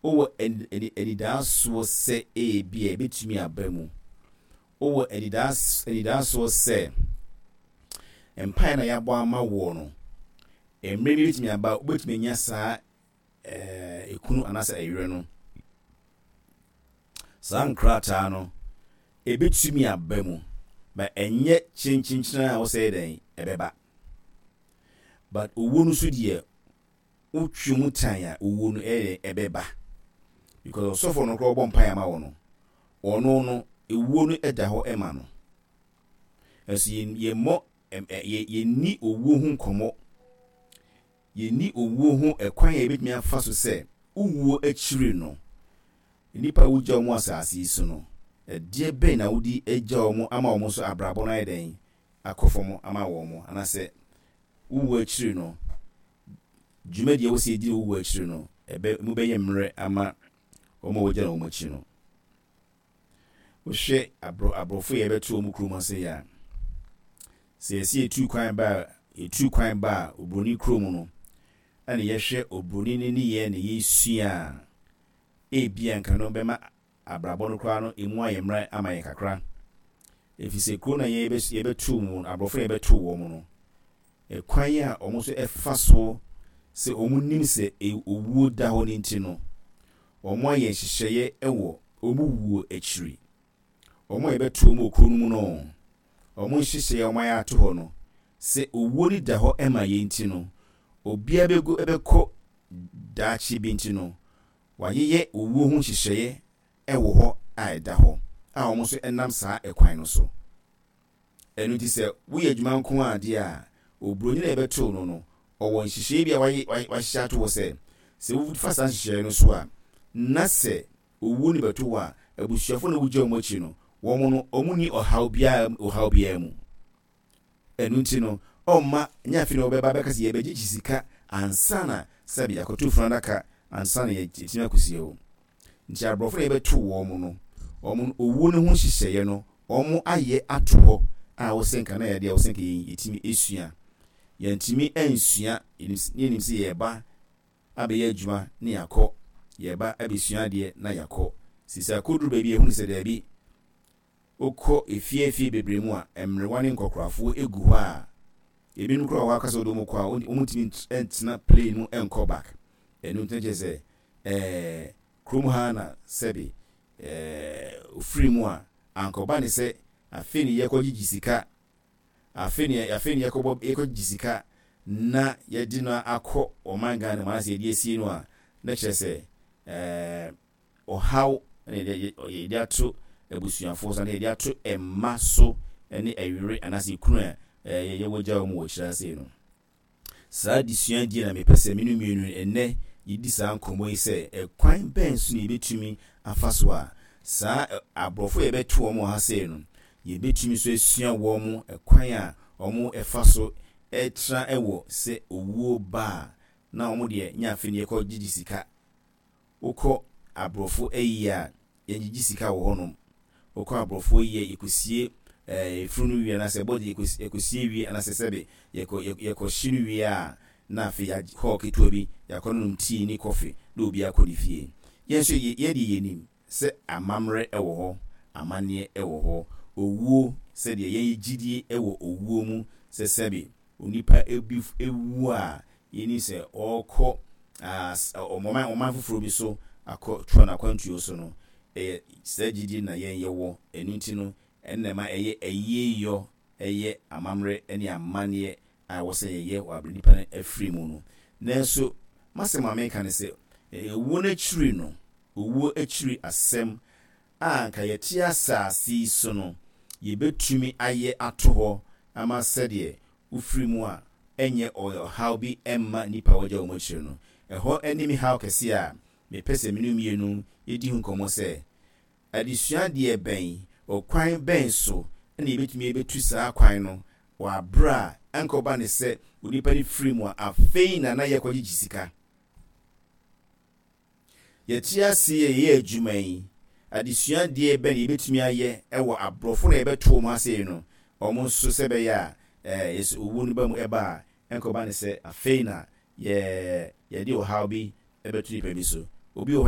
Wowɔ anidaasoɔ sɛ ebia ɛbɛtumi aba mu. Wowɔ anidaasoɔ sɛ mpaeɛ na yɛabɔ ama woɔ no, mmerɛ bi bɛtumi aba wobɛtumi anya saa ekunu anaasɛ ɛyerɛ no. Saa nkrataa no, ɛbɛtumi aba mu, ma ɛnyɛ kyenkyenkyene a wosɛ dɛn ɛbɛba. But owuo no so deɛ, wotwe mu tan a owuo no ɛyɛ dɛn ɛbɛba. Because ɔsɔfoɔ no koraa ɔbɔ mpaeɛ ama wo no, ɔno no ewuo no ɛda hɔ ɛma no. Ɛso yɛmmɔ yɛnni owuo ho nkɔmmɔ. Yɛnni owuo ho ɛkwan a yɛbɛtumi afa so sɛ wowuo akyiri no, nnipa a wogya wɔn asase yi so no, ɛdeɛ bɛn na wode agya wɔn ama wɔn nso abrabɔ no ayɛ dɛn akɔ fam ama wɔn, anaasɛ wo wuo akyiri no, dwumadi a ɛwɔ sɛ yɛdi wɔ wo wuo akyiri no, ɛbɛ, mu bɛyɛ mmerɛ ama wɔn a wɔgyina wɔn akyi no. Wohwɛ aborɔ, aborɔfo yɛ bɛto wɔn kurom ase yɛ a, sɛ yɛsɛ yɛtu kwan ba a, yɛtu kwan ba a, oburoni kurom no, ɛna yɛhwɛ oburoni no nneyɛɛ na yɛsua a, ebia nka no bɛma abrabɔ no koraa no emu ayɛ mmerɛ ama yɛn kakra. Efisɛ kuro no a yɛbɛtoo mu no, aborɔfo na yɛbɛtoo wɔn no, ɛkwan a wɔn nso ɛfa so sɛ wɔn nim sɛ owuo da hɔ no nti no, wɔn ayɛ nhyehyɛeɛ wɔ wɔn wuo akyiri. Wɔn a yɛbɛto wɔn wɔ kuro no mu no, wɔn nhyehyɛeɛ a wɔn ayɛ ato hɔ no, sɛ owuo no da hɔ ma yɛn nti no, obiara bɛgu bɛkɔ daakye bi nti no, wɔayeyɛ owuo ho nhyehyɛeɛ wɔ hɔ a ɛda hɔ a wɔn nso nam saa ɛkwan no so. Ɛno nti sɛ woyɛ adwuma nko ara deɛ a, oburoni no a yɛbɛtoo no no, ɔwɔ nhyehyɛeɛ bi a wahyehyɛ ato hɔ sɛ, sɛ wofa saa nhyehyɛeɛ no so a, na sɛ owuo no bɛto wo a, abusuafoɔ no a wogya wɔn akyi no, wɔn no, wɔnni ɔhaw biara ɔhaw biara mu. Ɛno nti no, ɔmma nyɛ afei na wɔbɛba abɛka sɛ yɛbɛgyegye sika ansa na sɛbe yɛakɔto funu adaka ansa na yɛatumi akɔsie wo. Nti aborɔfo na yɛbɛto wɔn no, wɔn no owuo no ho nhyehyɛeɛ no wɔn ayɛ ato hɔ a wosɛ nka na yɛde a wosɛ nka yɛtumi esua. Yɛntumi ansua, yɛnim sɛ yɛreba abɛyɛ adwuma na yɛakɔ, yɛreba abɛsua adeɛ na yɛakɔ. Sisi akɔduru baabi a yɛhunu sɛ daabi, Wokɔ afie afie bebree mu a, mmerewa ne nkɔkorafoɔ gu hɔ a, ebinom koraa wɔ hɔ a aka sɛ wode wɔn kɔ a, wɔntumi ntena plane mu nkɔ back. Ɛno nti na kyerɛ sɛ ɛɛ kurom ha na sɛbe ɛɛ ofiri mu a, ankɔba ne sɛ afei ne yɛkɔgyegye sika, afei ne afei ne yɛkɔbɔ yɛkɔgyegye sika na yɛde no akɔ ɔman Ghana mu anaasɛ yɛde asie no a, na kyerɛ sɛ ɛɛ ɔhaw na yɛde ato abusuafoɔ so anaa yɛde ato mma so ne ɛyere anaasɛ ekunu a yɛwɔ gya wɔn wɔ akyire ase no. Saa adesua die na mepɛ sɛ me no mmienu ɛnnɛ yɛdi saa nkɔmmɔ yi sɛ ɛkwan bɛn so na yɛbɛtumi afa so a saa aborɔfo a yɛbɛto wɔn wɔ ha sei no yɛbɛtumi nso asua wɔn ɛkwan a wɔn ɛfa so ɛtra ɛwɔ sɛ owuo ba a na wɔn deɛ nyɛ afei ne yɛkɔ gyegye sika. Wokɔ abrɔfo ayie a, yɛngyegye sika wɔ hɔnom. Wokɔ abrɔfo ayie a, yɛkɔsie efunu no wie anaasɛ body yɛkɔsie wie anaasɛ sɛbe yɛkɔ yɛkɔhye no wie a, na afei yɛagye hall ketewa bi, yɛakɔnonom tea ne coffee na obiara akɔ ne fie. Yɛn nso yɛn deɛ yɛnim sɛ amammerɛ wɔ hɔ, amanneɛ wɔ hɔ. Owuo, sɛdeɛ yɛn yɛ gyidie wɔ owuo mu sɛ sɛbe onipa bi wu a, yɛnim sɛ ɔrekɔ ɔman ɔman foforɔ bi so akɔtoa n'akwantuo so no, ɛyɛ saa gyidie na yɛn yɛwɔ. Ɛno nti no, ɛno na ɛma ɛyɛ ayieyɔ, ɛyɛ amammerɛ ne amanneɛ a ɛwɔ sɛ yɛyɛ wɔ aberɛ nipa no afiri mu no. Nanso m'asɛm a meka ne sɛ, owuo no akyiri no, owuo akyiri asɛm a anka yɛte asase yi so no, yɛbɛtumi ayɛ ato hɔ ama sɛdeɛ wofiri mu a ɛnyɛ ɔhaw bi mma nnipa a wɔagya wɔn akyire no. Ɛhɔ ne me haw kɛseɛ a mepɛ sɛ me ne wo mmienu yɛdi ho nkɔmmɔ sɛ, Adesua deɛ bɛn, ɔkwan bɛn so na yɛbɛtumi abɛtu saa kwan no wɔ aberɛ a ɛnkɔba ne sɛ onipa no firi mu a afei na na yɛkɔgyegye sika? Yɛte ase a yɛyɛ adwuma yi, adesua deɛ bɛn na yɛbɛtumi ayɛ wɔ aborɔfo na yɛbɛto wɔn ase no, wɔn nso sɛ ɛbɛyɛ a yɛsɛ owuo no ba mu ɛba a, ɛnkɔba ne sɛ afei na yɛ yɛde ɔhaw bi bɛto nipa bi so. Obi wɔ hɔ.